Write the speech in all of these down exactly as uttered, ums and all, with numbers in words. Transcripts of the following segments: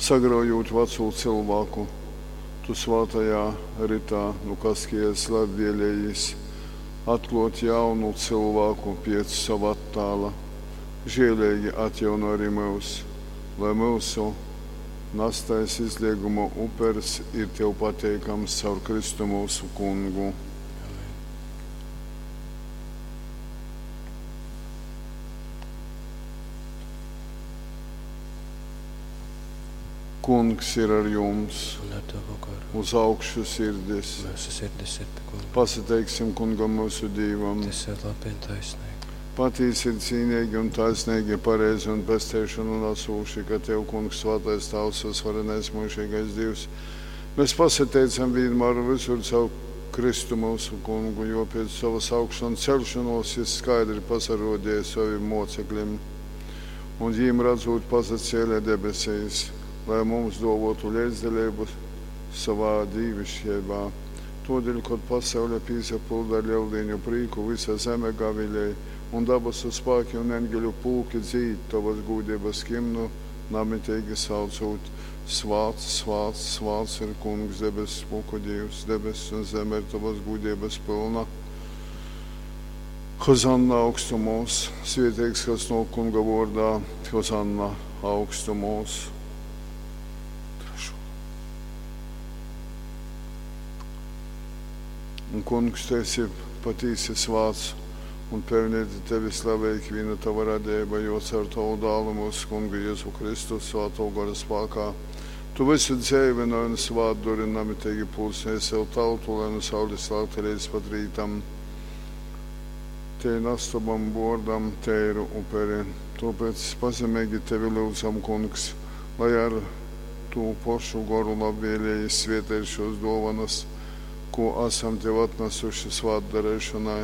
Sagraujūt vacū cylvāku, tu svātajā ritā nu kaskiejas labvielējīs atkluot jaunu cylvāku piec sova attāla. Žieleigi atjaunoj ari myus, lai myusu nastais izleiguma upers ir tev pateikams caur Kristu myusu Kungu. Amen. Kungs ir ar jums. Un ar tavu garu. Uz augšu sirdis. Mūsu sirdis ir pie Kunga. Pasateiksim Kungam myusu Dīvam. Tas ir labi un taisnīgi. Patīsi ir cīnīgi un taisnīgi, pareizi un pesteišanu nesūši, ka Tev, Kungs, svātais Tāvs, visvarenais mūžīgais Dievs, mēs pasateicam vienmēr un visur caur Kristu mūsu Kungu, jo pēc savas augšanu celšanos Jis skaidri pasarodīja saviem mocekļiem, un jīm redzot pasacēla debesīs, lai mums dovotu līdzdalību savā dīvišķībā. Todēļ, kad pasaule pīsapilda ar lieldienu prīku, visa zeme gavilēja, un dabasu spēki un eņģeļu pulki dzīd tavas gūdības himnu, namitīgi saucot: Svāts, svāts, svāts ir Kungs, debesu pulku Dievs, debesis un zeme ir tavas gūdības pilna. Hozanna augstumos, svētīgs, kas no Kunga vārdā, Hozanna augstumos. Trešo. Un Kungs, tu esi patīsi svāts un pelnīti tevi slavē ikviena tava radība, jo caur tavu dālu mūsu Kungu Jēzu Kristu svāto gara spēkā. Tu visu dzīvinoji un svātduri namitīgi pulcēji sev tautu, lai nu saules lēkta līdz pat rītam. Te nastobam bordam teiru uperi. Tāpēc pazemīgi tevi lūdzam, Kungs, lai ar tū pošu goru labvēlīgi svietēj šos dovanas, ko esam tev atnesuši svātdarēšanai,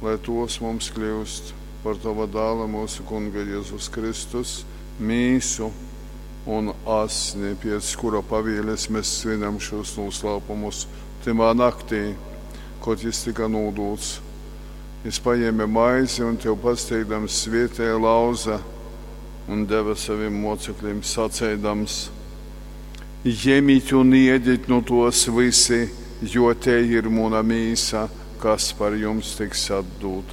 lai tos mums kļūst par tava dāla mūsu Kunga Jēzus Kristus mīsu un asni, pēc kura pavīles mēs svinam šos noslēpumus timā naktī, kad jis tika nūdūts. Jis paņēma maizi un tev pasteigdams svietēja lauza un deva saviem mocekļiem sacēdams: Ņemiet un ēdiet no tos visi, jo te ir muna mīsa, kas par jums tiks atdūta.